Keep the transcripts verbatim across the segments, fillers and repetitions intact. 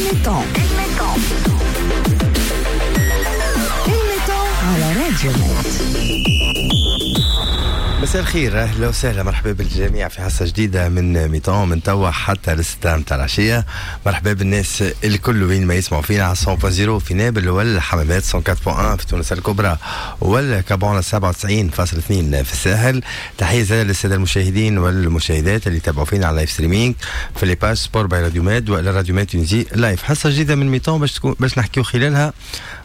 ال mi-temps ال mi-temps على راديو ميد. مساء الخير، اهلا وسهلا، مرحبا بالجميع في حصة جديدة من mi-temps من توا حتى للستة متاع العشيه. مرحبا بالناس الكل وين ما يسمعوا فينا على مية فاصلة صفر في نابل والحمامات، مية وأربعة فاصلة واحد في تونس الكبرى وال Cap Bon سبعة وتسعين فاصلة اثنين في الساحل. تحية زادة للسادة المشاهدين والمشاهدات اللي تابعوا فينا على live streaming في les pages Sport by راديو ماد ولا راديو ماد Tunisie live. حصة جديدة من mi-temps باش تكون باش نحكيو خلالها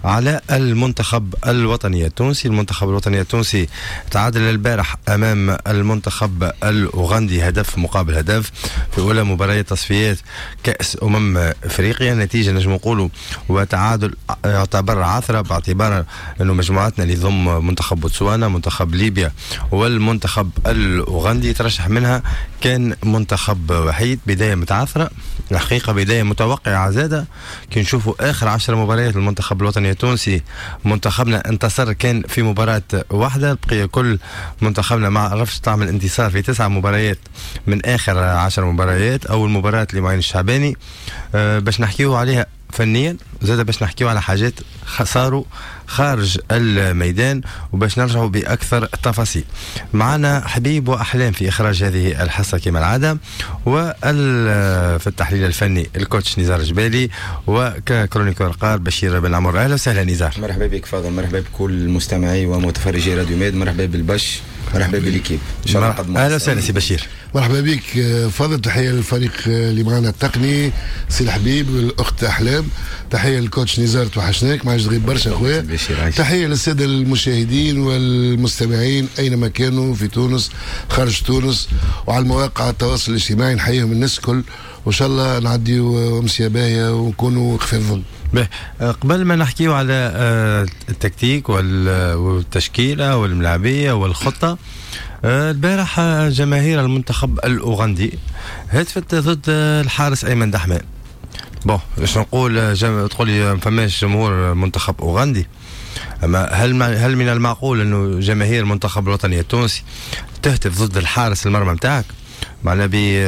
على المنتخب الوطني التونسي. المنتخب الوطني التونسي تعادل البارح امام المنتخب الاوغندي هدف مقابل هدف في اولى مباريات تصفيات كاس امم افريقيا. نتيجة نجم نقولوا وتعادل يعتبر عثره، باعتبار انه مجموعتنا اللي ضم منتخب بوتسوانا، منتخب ليبيا والمنتخب الاوغندي ترشح منها كان منتخب وحيد. بداية متعثره الحقيقه، بداية متوقعه زاده. كي نشوفوا اخر عشر مباريات للمنتخب الوطني التونسي، منتخبنا انتصر كان في مباراة واحده، البقية كل منتخبنا ما عرفش تعمل انتصار في تسع مباريات من اخر عشر مباريات. اول مباراة لمعين الشعباني أه باش نحكيو عليها فنيا، زاد باش نحكيو على حاجات صاروا خارج الميدان وباش نرجعوا باكثر تفاصيل. معنا حبيب واحلام في اخراج هذه الحصة كما العاده، وفي التحليل الفني ال coach نزار جبالي، وك chroniqueur قار بشير بن عمر. اهلا وسهلا نزار. مرحبا بك فاضل، مرحبا بكل مستمعي ومتفرجي راديو ميد، مرحبا بالبش، مرحبا ب l'équipe. اهلا وسهلا سي بشير. مرحبا بك فاضل، تحية للفريق اللي معنا التقني سي الحبيب والاخت احلام، تحية لل coach نزار توحشناك ما عادش تغيب برشا خويا، تحية للسادة المشاهدين والمستمعين اينما كانوا في تونس خارج تونس وعلى المواقع التواصل الاجتماعي، نحييهم الناس الكل وان شاء الله نعديو امسية باهيه ونكونوا خفاف الظل. قبل ما نحكيو على التكتيك والتشكيله والملاعبيه والخطه، البارح جماهير المنتخب الاوغندي هتفت ضد الحارس ايمن دحمان. bon باش نقول جم... تقول لي ما فماش جمهور منتخب اوغندي، اما هل هل من المعقول انه جماهير المنتخب الوطني التونسي تهتف ضد الحارس المرمى نتاعك؟ معناها بي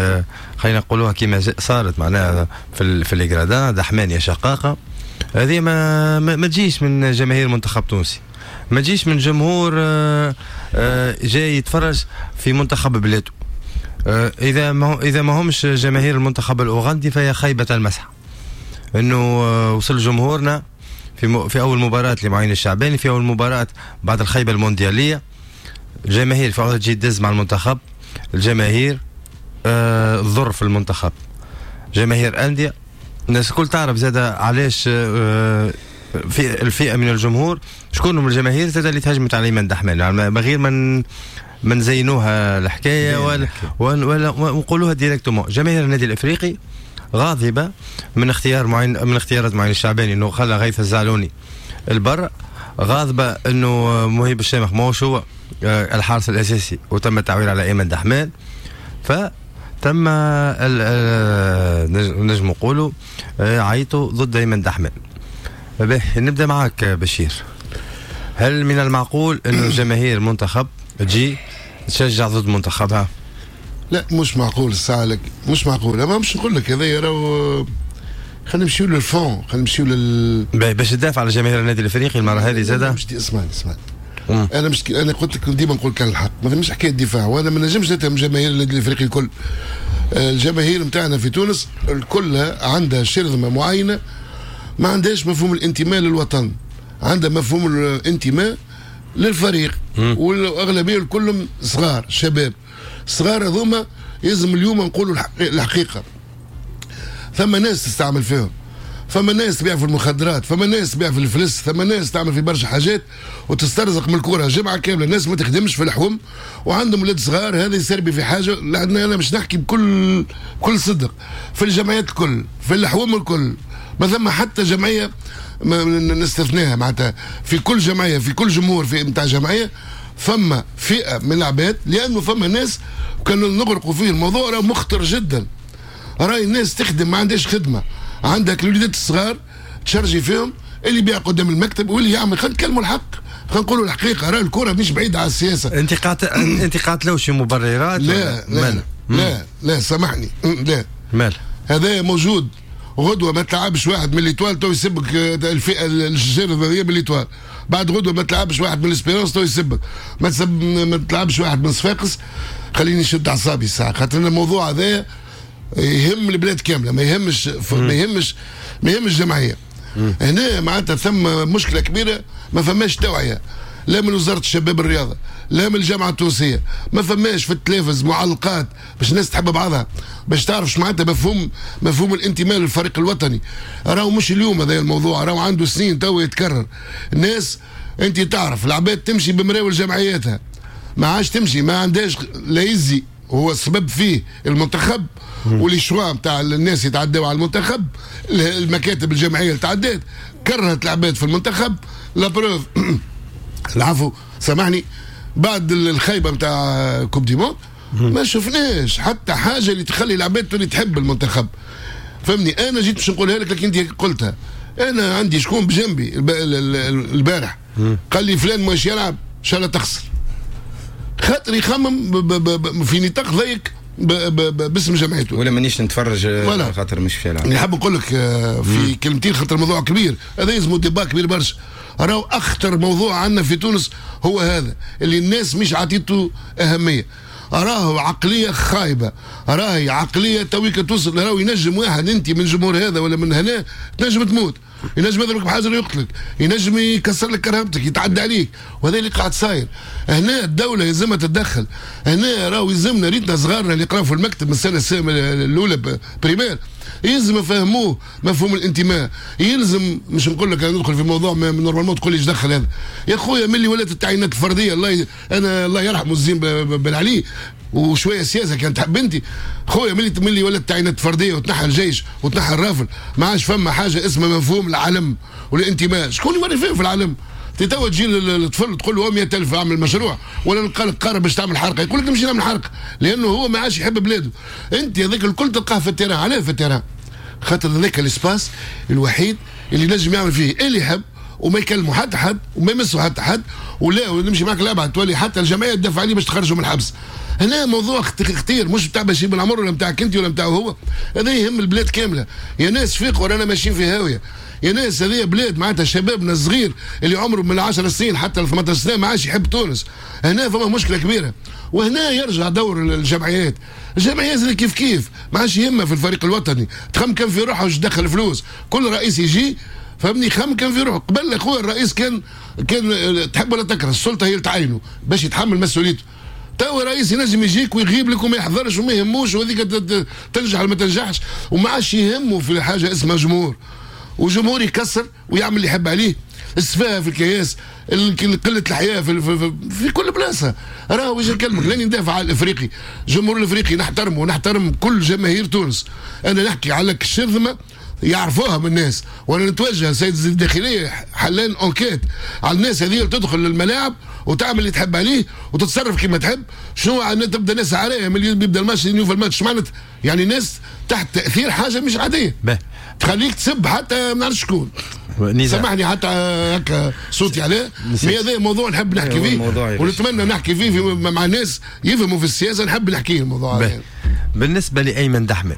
خلينا نقولوها كيما صارت معناها في ال... في les gradins دحمان يا شقاقه، هذه ما ما تجيش من جماهير منتخب تونسي، ما تجيش من جمهور جاي يتفرج في منتخب بلاده. اذا ما اذا ما همش جماهير المنتخب الاوغندي فهي خيبه المسح انه وصل جمهورنا في في اول مباراة لمعين الشعباني، في اول مباراة بعد الخيبه الموندياليه، الجماهير في عوض تجي تدز مع المنتخب، الجماهير الضر في المنتخب، جماهير اندية. الناس الكل تعرف زاد علاش في الفئة من الجمهور شكون هم الجماهير زاد اللي تهجمت على ايمن دحمان، يعني من غير من من زينوها الحكاية ولا ولا ونقولوها directement. جماهير النادي الافريقي غاضبه من اختيار معين من اختيارات معين الشعباني انه خلى غيث الزعلوني البر، غاضبه انه مهيب الشامخ ماهوش هو الحارس الاساسي وتم التعويل على ايمن دحمان، ف تم نجم نقولوا عيطوا ضد ايمن دحمان. نبدا معك بشير، هل من المعقول انه جماهير منتخب تجي تشجع ضد منتخبها؟ لا مش معقول الساعة لك، مش معقول. اما مش نقول لك هذا راهو خلينا نمشيو لل fond، خلينا نمشيو لل باش تدافع على جماهير النادي الافريقي المرة هذه زاده. مش اسمعني اسمعني انا مش انا قلت لك ديما نقول كان الحق، ما فماش حكاية دفاع، وانا ما نجمش نتهم جماهير النادي الافريقي الكل. الجماهير نتاعنا في تونس الكل عندها شرذمه معينة، ما عندهاش مفهوم الانتماء للوطن، عندها مفهوم الانتماء للفريق، والاغلبيه كلهم صغار شباب صغار هذوما. لازم اليوم نقولوا الحقيقة، ثم ناس تستعمل فيهم، فما ناس تبيع في المخدرات، فما ناس تبيع في الفلس، ثم ناس تعمل في برشا حاجات وتسترزق من الكره جمعه كاملة. الناس ما تخدمش في الحوم وعندهم ولاد صغار، هذا يسربي في حاجة. لأن انا مش نحكي بكل بكل صدق، في الجمعيات الكل، في الحوم الكل، ما ثم حتى جمعية نستثناها، معناتها في كل جمعية في كل جمهور في نتاع جمعية فما فئة من العباد، لانه فما ناس كانوا نغرقوا فيه الموضوع راه مخطر جدا. راي الناس تخدم ما عندهاش خدمة، عندك الوليدات الصغار تشرجي فيهم اللي يبيع قدام المكتب واللي يعمل. خلينا نتكلموا الحق، خلينا نقولوا الحقيقة، راه الكره مش بعيدة على السياسة. انت قاعد انت قاعد لو شي مبررات؟ لا لا لا لا, لا سامحني، لا مال هذا موجود. غدوه ما تلعبش واحد من l'Étoile تو يسبك الفئة الجزائرية من l'Étoile، بعد غدوه ما تلعبش واحد من l'Espérance تو يسبك، ما تسب ما تلعبش واحد من صفاقس. خليني نشد اعصابي الساعة، خاطر الموضوع هذا يهم البلاد كاملة، ما يهمش ما يهمش ما يهمش الجمعية. هنا معناتها ثم مشكلة كبيرة، ما فماش توعيه لا من وزارة الشباب الرياضة لا من الجامعة التونسية، ما فماش في التلفز معلقات باش الناس تحب بعضها، باش تعرف معناتها مفهوم مفهوم الانتماء للفريق الوطني. راهو مش اليوم هذا الموضوع، راهو عنده سنين تو يتكرر. الناس انت تعرف العباد تمشي بمراول جمعياتها، ما عادش تمشي، ما عندهاش لا يزي هو السبب فيه المنتخب و les choix نتاع الناس يتعداو على المنتخب، المكاتب الجمعية اللي تعدات كرهت العباد في المنتخب. la preuve العفو سامحني، بعد الخيبه نتاع coupe du monde ما شفناش حتى حاجة اللي تخلي العباد تولي تحب المنتخب. فهمني؟ انا جيت باش نقولها لك لكن انت قلتها. انا عندي شكون بجنبي البارح قال لي فلان مش يلعب ان شاء الله تخسر، خاطر يخمم في نطاق ضيق باسم جمعيته، ولا مانيش نتفرج خاطر مش في يلعب. نحب نقول لك في كلمتين خاطر الموضوع كبير، هذا يلزمو débat كبير برشا. راهو اخطر موضوع عندنا في تونس هو هذا اللي الناس مش عطيته اهمية. راهو عقلية خايبة، راهي عقلية تويك توصل، راهو ينجم واحد انت من جمهور هذا ولا من هنا تنجم تموت، ينجم يضربك بحجر يقتلك، ينجم يكسر لك كرامتك، يتعدى عليك، وهذا اللي قاعد صاير. هنا الدولة يلزمها تتدخل، هنا راهو يلزمنا ريتنا صغارنا اللي يقراو في المكتب من السنة الاولى primaire يلزم يفهموه مفهوم الانتماء. يلزم، مش نقول لك انا ندخل في موضوع normalement تقول لي ايش دخل هذا يا خويا، ملي ولات التعيينات الفردية الله ي... انا الله يرحمه الزين بن علي وشوية سياسة كانت تحب انت خويا، ملي ملي ولات التعيينات الفردية وتنحى الجيش وتنحى الرافل ما عادش فما حاجة اسمها مفهوم العلم والانتماء. شكون يوري فيه في العلم؟ توا تجي للطفل تقول له مية ألف اعمل مشروع، ولا نلقى لك قارب باش تعمل حرقه، يقول لك نمشي نعمل حرقه، لانه هو ما عادش يحب بلاده. انت هذاك الكل تلقاه في ال terrain. علاه في ال terrain؟ خاطر هذاك ال espace الوحيد اللي نجم يعمل فيه اللي يحب وما يكلموا حتى حد وما يمسوا حتى حد، ولا ونمشي معك لابعد تولي حتى الجمعية تدافع عليه باش تخرجوا من الحبس. هنا موضوع خطير، مش بتاع بشير بن عمر ولا بتاعك انت ولا بتاعه هو، هذا يهم البلاد كاملة. يا ناس فيقوا، رانا ماشيين في هاوية. يا ناس هذه بلاد معناتها شبابنا الصغير اللي عمره من عشر سنين حتى ل ثمنطاش سنة ما عادش يحب تونس. هنا فما مشكلة كبيرة، وهنا يرجع دور الجمعيات. الجمعيات اللي كيف كيف ما عادش يهمها في الفريق الوطني، تخم كان في روحها وش تدخل فلوس. كل رئيس يجي فهمني خم كان في روحه. قبل اخويا الرئيس كان كان تحب ولا تكره السلطة هي اللي تعينه باش يتحمل مسؤوليته. تو رئيس ينجم يجيك ويغيب لك وما يحضرش وما يهموش، وهذيك تنجح ولا ما تنجحش، وما عادش يهمه في حاجة اسمها جمهور. وجمهور يكسر ويعمل اللي يحب عليه، السفاهه في الكياس، قلة الحياة في, في, في, في كل بلاصة. راهو واش نكلمك، لاني ندافع على الافريقي، الجمهور الافريقي نحترمه ونحترم كل جماهير تونس. انا نحكي على الشرذمه يعرفوها من الناس، وانا نتوجه سيد الداخلية حلان enquête على الناس هذه اللي تدخل للملاعب وتعمل اللي تحب عليه وتتصرف كما تحب. شنو تبدا ناس عرايه من يبدا الماتش يوفى الماتش، معناتها يعني ناس تحت تاثير حاجة مش عادية تخليك تسب حتى ما نعرفش شكون. سامحني حتى هكا صوتي عليه، هذا موضوع نحب نحكي فيه ونتمنى نحكي فيه مع ناس يفهموا في السياسة، نحب نحكيه الموضوع هذا. بالنسبة لايمن دحمل